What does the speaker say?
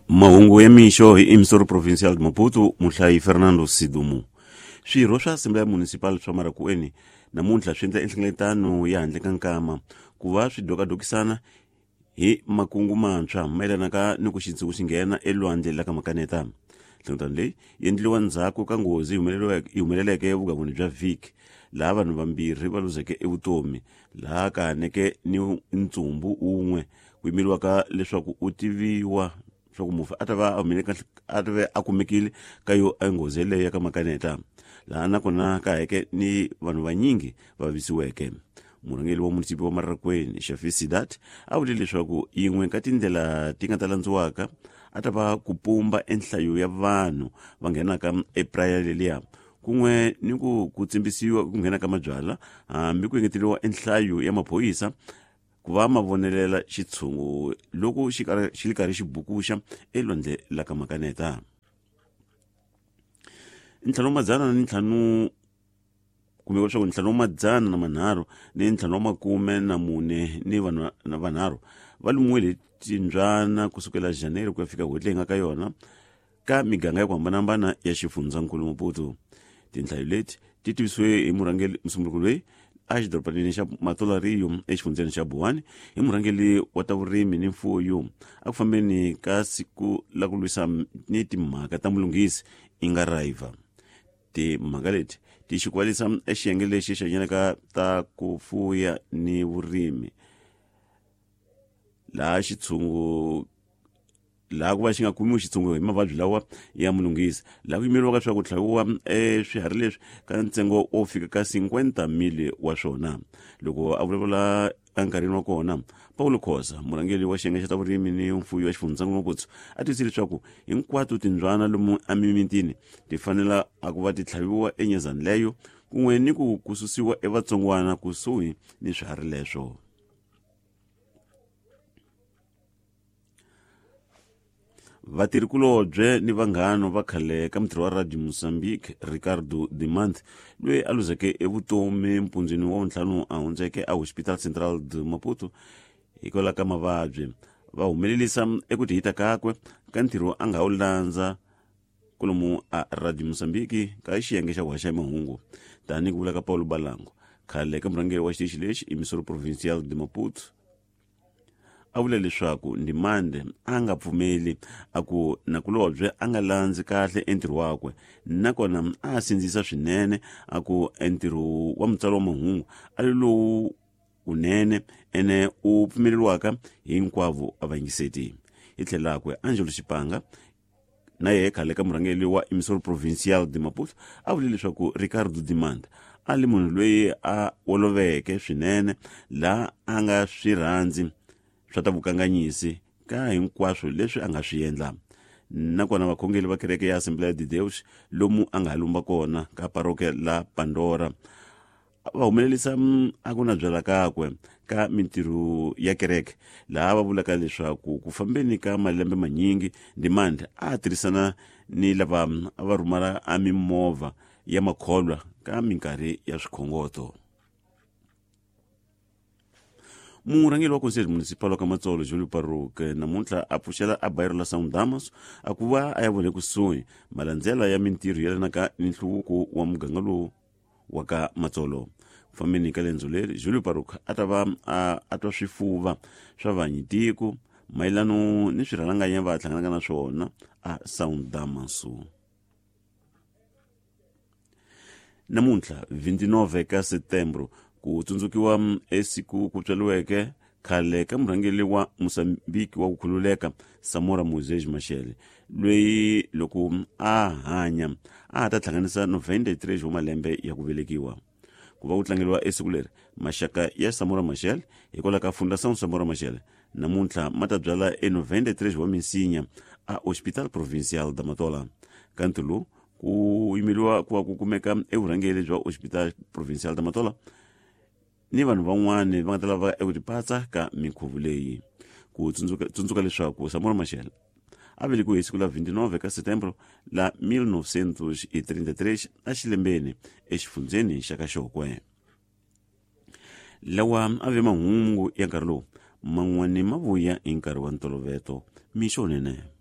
Mahungu ya mixo hi Emissor Provincial de Maputo, muhlayi Fernando Sidumu. Swirho swa Assembleia Municipal swa Marakueni namuntlha swi endla enhlengeletano ya handle ka nkama ku va swi dokadokisana hi makungu mantshwa mayelanaka ni ku xintshungu xi nghena elwandle la ka Makaneta. Nhlengeletano leyi yi endliwa ndzhaku ka nghozi yi humeleleke evugangwini bya Vic, laha vanhu vambirhi va luzeke evutomi, laha ka haneke ni ntsumbu wun'we ku yimeriwaka leswaku u tiviwa leswaku mufi a ta va a ta va a kumekile ka yo enghozi yeleyo ya ka Makaneta, laha nakona ka heke ni vanhu vanyingi va vavisiweke. Murhangeri wa munisipi wa Marakwini, Shafi Sidat, a vule leswaku yin'we ka tindlela ti nga ta landziwaka a ta va ku pumba enhlayo ya vanhu va nghenaka epraya leliya, kun'we ni ku ku tsimbisiwa ku nghena ka mabyala, hambi ku engeteriwa enhlayo ya maphorisa ku va ma vonelela xitshungu loko xi xi ri karhi xi bukuxa elwandle la ka Makaneta. Ntlhanu wa madzana ni ntlhanu kumbe leswaku ntlhanu wa madzana na manharhu ni ntlhanu wa makume na mune ni vanhu na vanharhu va lumiwile hi timbyana kusukela January ku ya fika n'hweti leyi nga ka yona ka miganga ya ku hambanahambana ya xifundzankulu Maputo. Tinhlayo leti ti tivisiwe hi murhangeri musunguri loyi a xidorobanini xa Matola Rio exifundzeni xa Buwani hi murhangeri wa ta vurimi ni mfuyo a ku fambeni ka siku la ku lwisa ni timhaka ta mulunghisi inga raiva. Timhaka leti ti xikwalisa exiyenge lexi xi hanyelaka ta ku fuya ni vurimi laha xitshungu laha ku va xi nga kumiwi xitshungulo hi mavabyi lawa ya mulunghisi, laha ku yimeriwaka swa ku tlhaviwa swiharhi leswi ka ntsengo wo fika ka 50 mili wa swona. Loko a vulavula enkarhini wa kona, Paulo Khosa, murhangeri wa xiyenge xa ta vurimi ni mfuyo wa xifundzankulu Maputo, a tiyisile leswaku hinkwato timbyana lomu emimitini ti fanela a ku va ti tlhaviwa enyezani leyo kun'we ni ku ku susiwa evatsongwana kusuhi ni swiharhi leswo. Vatirhikulobye ni vanghana va khale ka mutirhi wa Radio Mozambique Ricardo Dimant, loyi a luzeke evutomi mpundzwini wa vuntlhanu a hundzeke a Hospital Central de Maputo hikwalaho ka mavabyi, va humelelisa eku tihita kakwe ka ntirho a nga wu landza kolomu a Radio Mozambique ka xiyenge xa ku haxa mahungu. Tanihi ku vula ka Paulo Balango, khale ka murhangeri wa xitichi lexi Emissor Provincial de Maputo, a vula leswaku Ndimande a nga pfumeli, a ku nakulobye a nga landzi kahle entirho wakwe, nakona a sindzisa swinene, a ku entirho wa mutsari wa mahungu a ri lowu wunene ene u pfumeleriwaka hinkwavo a vayingiseti. Hi tlhelo rakwe, Angelo Xipanga, na yehe khale ka murhangeri wa Emissor Provincial de Maputo, a vule leswaku Ricardo Dimanda a li munhu loyi a oloveke swinene, laha a nga swi rhandzi swa ta vukanganyisi ka hinkwaswo leswi a nga swi endla. Nakona vakhongeri va kereke ya Assembleia de Deus lomu a nga ha lumba kona ka parokia la Pandora va humelerisa a ku na byala kakwe ka mintirho ya kereke, laha va vulaka leswaku ku fambeni ka malembe manyingi Ndimande a tirhisana ni lava a va rhumela a mimovha ya makholwa ka minkarhi ya swikhongoto. Murhangeri wa Conselho Municipal wa ka Matsolo, Julio Parruque, namuntlha a pfuxela a bayiro la São Damas a ku va a ya vona ekusuhi malandzela ya mintirho yelanaka ni nhluvuko wa muganga lowu wa ka Matsolo. Ku fambeni ka lendzo leri, Julio Parruque a ta va a twa swifuva swa vanyitiko mayelano ni swirhalanganya va hlanganaka na swona a São Damaso. Namuntlha 29 ka Setembro ku tsundzukiwa esiku ku tswariweke khale ka murhangeri wa Mozambique wa ku khululeka Samora Moisés Machel, loyi loko a hanya a ha ta hlanganisa 93 wa malembe ya ku velekiwa. Ku va ku tlangeriwa esiku leri, maxaka ya Samora Machel hikwalaho ka Fundação Samora Machel namuntlha ma ta byala e 93 wa minsinya a Hospital Provincial da Matola. Ka ntirho lowu ku yimeriwa ku va ku kumeka evurhangeri bya Hospital Provincial da Matola ni vanhu van'wani va nga ta lava eku tipatsa ka minkhuvo leyi. Ku tsundzuka leswaku Samora Machel a velekiwe hi siku la 29 ka Setembro la 1933 exilembeni exifundzeni xa ka Xokwe. Lawa a ve mahungu ya nkarhi lowu man'wani ma vuya hi nkarhi wa ntoloveto. Mixo nene.